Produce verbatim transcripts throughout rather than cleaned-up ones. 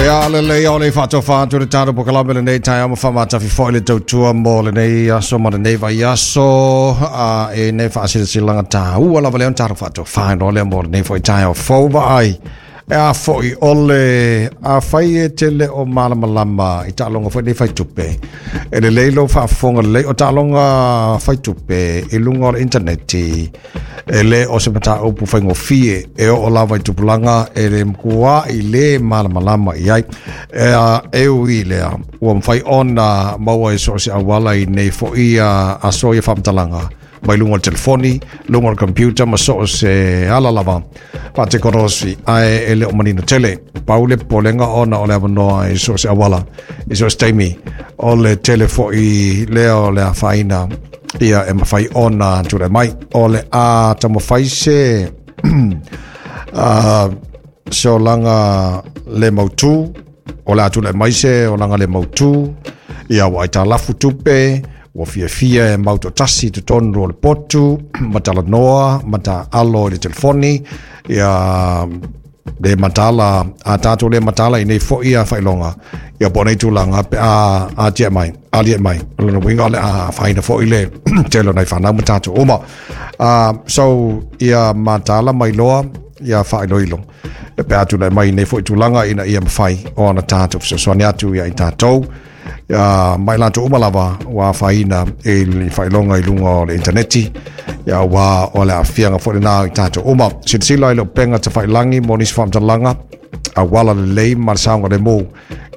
Ia lelei o le faatofa atu le tatou polokalame lenei taeao ma faamatafi foi le tautua mo lenei aso ma lenei vaiaso a e nei faasilasilaga taua lava lea ona tatou faatofa loa lea mo lenei foi taeao fou vaai. E a foi o le afai e tele o malamalama i taaloga foi nei faitupe. E lelei lou faafofoga lelei o taaloga faitupe i luga o le intaneti e le o se mataupu faigofie e oo lava i tupulaga e le matua i le malamalama i ai. E a e ui lea ua mafai ona maua e so o se auala i nei foi aso ia faamatalaga mai luga o le telefoni, luga o le computer ma so o se ala lava faatekonolosi ae e le o manino tele. Pau le popolega ona o le avanoa i so o se auala i so o se taimi o le tele foi lea o le afaina ia e mafai ona tulai mai. O le a taumafai se uh, se olaga le mautu, o le a tulai mai se olaga le mautu, ia ua aitalafu tupe, ua fiafia e mautotasi i totonu o le potu, ma talanoa, ma taalo i le telefoni, ia le matala, a tatou le matala i nei foi a faailoga, ia po o nei tulaga pe a atia mai, alia mai. O lona uiga o le a afaina foi le tele o nai fanau ma tatou uma. Uh, so, ia matala mai loa, ia faailoilo. E pe a tulai mai nei foi tulaga ina ia mafai ona tatou fesoasoani atu ia i tatou. Ia mai latou uma lava ua afaina i le faailoga i luga o le intaneti. Ia ua o le aafiaga foi lena i tatou uma. Silasila i le upega tafailagi mo nisi faamatalaga auala lelei ma le saogalemu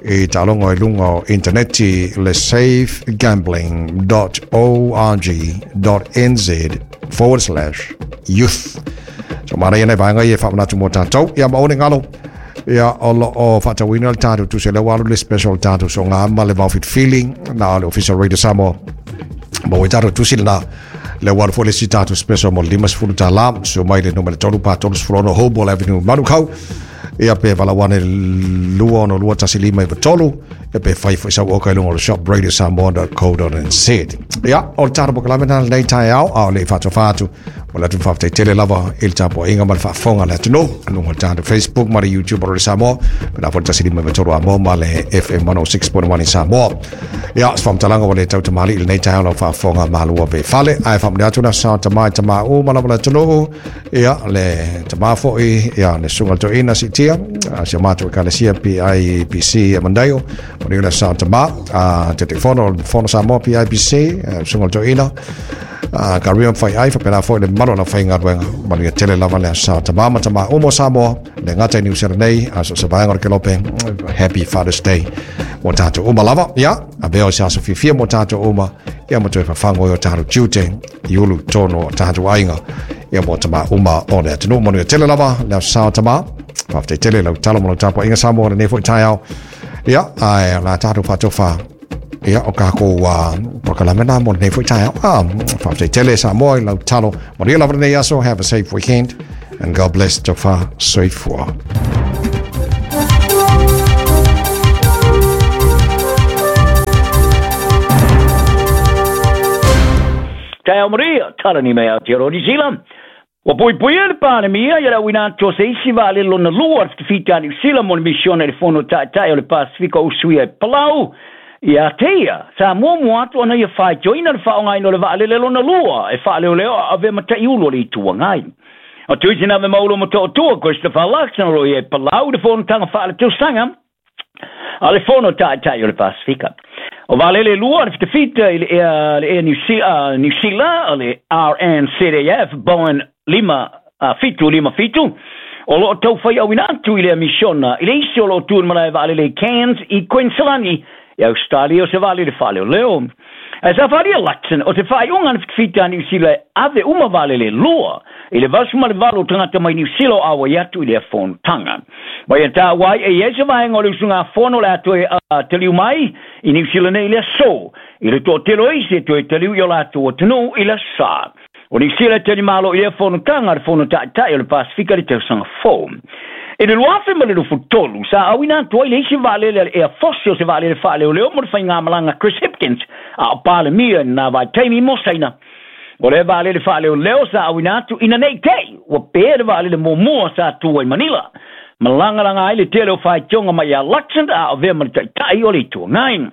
i taaloga i luga o intaneti le safegambling dot org dot N Z forward slash youth. So manaia nei vaega ia e faamanatu mo tatou. Ia ma one galo. Ia o lo o faatauina le tatou tusi lea ua alu le special tatou soga ma le vaofilifili na o le Official Radio Samoa. Ma ua tatou tusi lena le ua alu foi le isi tatou special mo le limasefulu tala susu mai le numera tolu pa tolusefulu ono Hoball Avenue, Manukau. Ia pe valaau ane lua ono lua tasi lima iva tolu ia pe fai foi sau oka i luga o le shop radio samoa dot co dot N Z. Ia o le tatou polokalame lena lenei taeao a o le i faatofa atu o le atu faafetai tele lava i le tapuaiga ma le faafofoga a le atunuu luga o le tatou Facebook ma le YouTube o le Samoa pe na foi le tasi lima iva tolu Amoa ma le F M one oh six point one i Samoa. Ia se faamatalaga ua le tautamalii i lenei taeao lau faafofoga malua pe fale ae faamanuia atu na sa tama i tama uma lava le atunuu ia le tama foi ia le susuga le toeaina siitia si o matou ekalesia P I P C e Mandaio o le sa tama a Taitaifono o le Fono Samoa P I P C susuga le toeaina a ka ria fai ai faapena foi le mamalu o le aufaigaluega manuia tele lava le sa tama ma tama uma o Samoa le gata i Niu Sila nei a so se vaega o le kelope. Happy Father's Day mo tatou uma lava. Ia avea o se aso fiafia mo tatou uma ia ma toe fafago i o tatou tiute i ulu tonu o tatou aiga ia mo tama uma o le atunuu manuia tele lava le aso sa tama faafetai tele lau talo ma lau tapuaiga Samoa lenei foi taeao ia ae la tatou faatofa ia o kākou uh, polokalame na mo lenei foi taeao. Ah, faafetai tele Samoa i lau talo manuia lava lenei aso. Have a safe weekend and God bless. Tofa soifua. Taeao maria, talani mai Aotearoa New Zealand. Ua puipuia le Palemia ia le auina atu o se isi vaalele lona lua a le fitafita a Niu Sila mo le misiona i le Fono Ta'ita'i o le Pasifika o usuia e Palau. Ia te ia, sa muamua atu ona ia faitioina le faaaogaina o le vaalele lona lua e faaleoleo a avea ma ta'iulu o le Itu Agai. O Tuisi na ave maulo ma to'otua Christopher Luxon o lo o i ai i Palau i le fonotaga faaletausaga a le Fono Ta'ita'i o le Pasifika. O vaalele e lua a le fitafita i le Air, le Air New, uh, New Sila, o le R N C A F Boeing lima fitu lima fitu, o loo taufai auina atu i lea misiona i le isi o loo tu i le malae vaalele i Cairns i Queensland i Australia o se vaalele faaleoleo. Ae sa faaalia Luxon o se faaiuga a le fitafita a Niu Sila e ave uma vaalele e lua i le valu ma le valu o tagata mai Niu Sila o auai atu i lea fonotaga. Ma ia taua ai e i ai se vaega o le usugafono o le a toe taliu mai i Niu Sila nei i le aso, i le toatele o isi e toe taliu i o latou atunuu i le aso Sa. O Niu Sila e talimalo i lea fonotaga a le Fono Ta'ita'i o le Pasifika i le tausaga fou. I le lua afe ma le luafulu tolu, sa auina atu ai le isi vaalele a le Air Force o se vaalele faaleoleo mo le faigamalaga Chris Hipkins a o Palemia i lena vaitaimi mo Saina. O le vaalele faaleoleo sa auina atu ina nei te'i ua pē le vaalele muamua sa tua i Manila. Malagalaga ai le tele o faitioga mai ia Luxon a o avea ma le taʻitaʻi o le Itu Agai.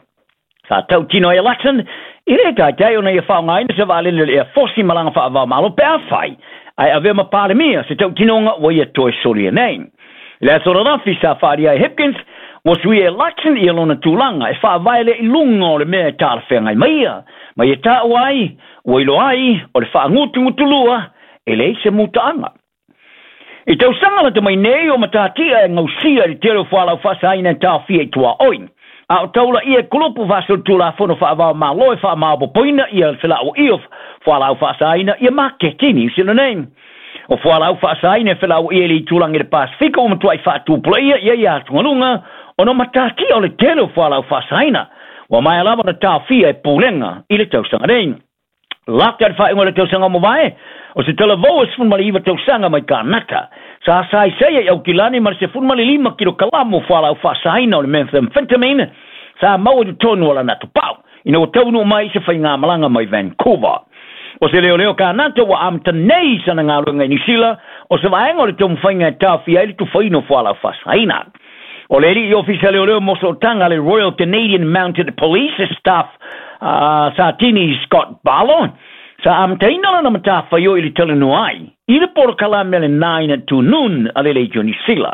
Sa tautino ai Luxon e lē taitai ona ia faaaogaina se vaalele o le Air Force i malaga faavaomalo pe afai ae avea ma Palemia se tautinoga ua ia toe solia nei. I le aso ananafi sa faaalia ai Hipkins ua suia e Luxon ia lona tulaga e faavae lea i luga o le mea e talafeagai mai ia ma ia taua ai ua iloa ai o le faagutugutulua e leai se mutaaga. I tausaga lata mai nei o matatia e gausia i le tele o fualaau faasaina e taofia i tuaoi. A o taulaia e kulupu faasolitulafono faavaomalo e faamaopopoina ia le felauaia o fualaau faasaina ia maketi i Niu Sila nei. O fualaau faasaina e felauaia i le itulagi o le Pasefika ua matuai faatupulaia ia ia atugaluga ona o matatia o le tele o fualaau faasaina ua maea lava ona taofia e pulega i le tausaga nei. Lata i le faaiuga o le tausaga ua mavae, o se talavou e sefulu ma le iva tausaga mai Kanata sa saisai ai Aukilani ma le sefulu ma le lima kilokalamo o fualaau faasaina o le methamphetamine sa maua i totonu o lana atopau ina ua taunuu mai i se faigamalaga mai Vancouver. O se leoleo Kanata ua amata nei sana galuega i Niu Sila o se vaega o le taumafaiga e taofia ai le tufaina o fualaau faasaina. O le alii ofisa leoleo mo sootaga a le Royal Canadian Mounted Police Staff uh, Satini Scott Barlow sa amataina lana matafaioi i le talanoa ai i le polokalame a le nine to Noon a le Leitio Niu Sila.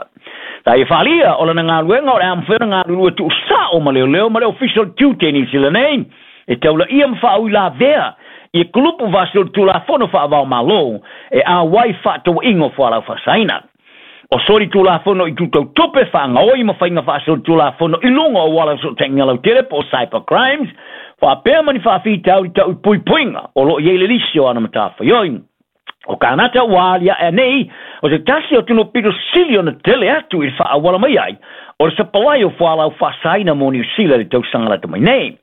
Sa ia faaalia o lana galuega o le a mafai ona galulue tuusao ma leoleo ma le ofisa o le tiute i Niu Sila nei e taulaia ma faauilavea ia kulupu faasolitulafono faavaomalo e auai faatauaiga o fualaau faasaina. O solitulafono i tutautupe faagaoi ma faiga faasolitulafono i luga o auala o fesootaiga lautele po o cyber crimes faapea ma ni faafitauli tau i puipuiga o loo i ai le lisi o ana matafaioi. O Kanata ua aliae nei o se tasi o atunuu pito sili ona tele atu i le faaauala mai ai o le sapalai o fualaau faasaina mo Niu Sila i le tausaga lata mai nei.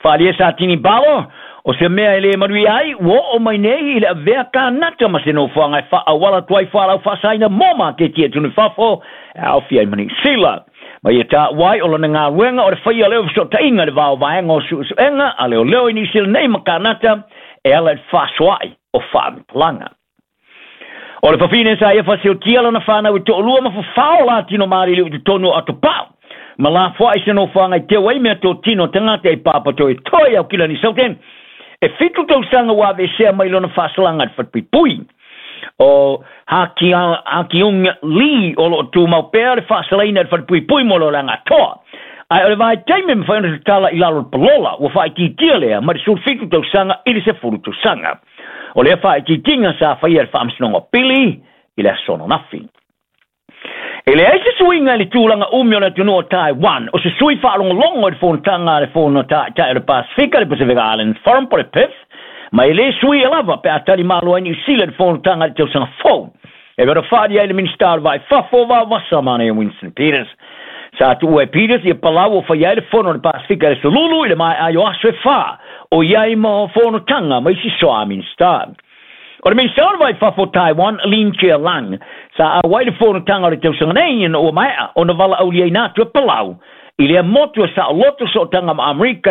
Faaalia Satini Barlow o se mea e lē manuia ai ua oo mai nei i le avea Kanata ma se nofoaga e faaauala atu ai fualaau faasaina mo maketi e atunuu i fafo e aofia ai ma Niu Sila. Ma ia taua ai o lona galuega o le faia lea o fesootaiga i le va o vaega o suesuega a leoleo i Niu Sila nei ma Kanata e ala i le faasoaai o faamatalaga. O le fafine sa ia faasiotia lana fanau e toalua ma fafao latino maliliu i totonu o atopau ma lafoai se nofoaga i teu ai meatotino tagata i papatoetoe i Aukilani Southern e fitu tausaga ua aveesea mai lona faasalaga i le falepuipui. O Hakiung Lee o loo tumau pea le faasalaina i le falepuipui mo le olaga atoa. Ae o le vaitaimi e mafai ona tatala i lalo o le palola ua faaitiitia lea mai le sefulufitu tausaga i le sefulu tausaga. O lea faaitiitiga sa faia e le Faamasinoga o Pili i le aso ananafi. E leai se suiga i le tulaga umi o le atunuu o Taiwan, o se sui faalogologo i le fonotaga a le Fono Taʻitaʻi o le Pasefika, le Pacific Islands Forum po o le P I F, ma e lē suia lava pe a tali malo ai Niu Sila i le fonotaga i le tausaga fou. E pei ona faaalia ai le Minisita o le Vaa i Fafo o Vaovasa manaia Winston Peters. Sa tuua e Peters ia Palau o faia ai le Fono o le Pasefika i le Sululu i le maeaai o aso e fā o i ai ma fonotaga ma isi soā Minisita. O le Minisita o le Vaa i Fafo o Taiwan, Lin Chia-lang, sa auai le fonotaga o le tausaga nei ina ua maea ona valaauliaina atu e Palau i lea motu e saoloto sootaga ma Amerika e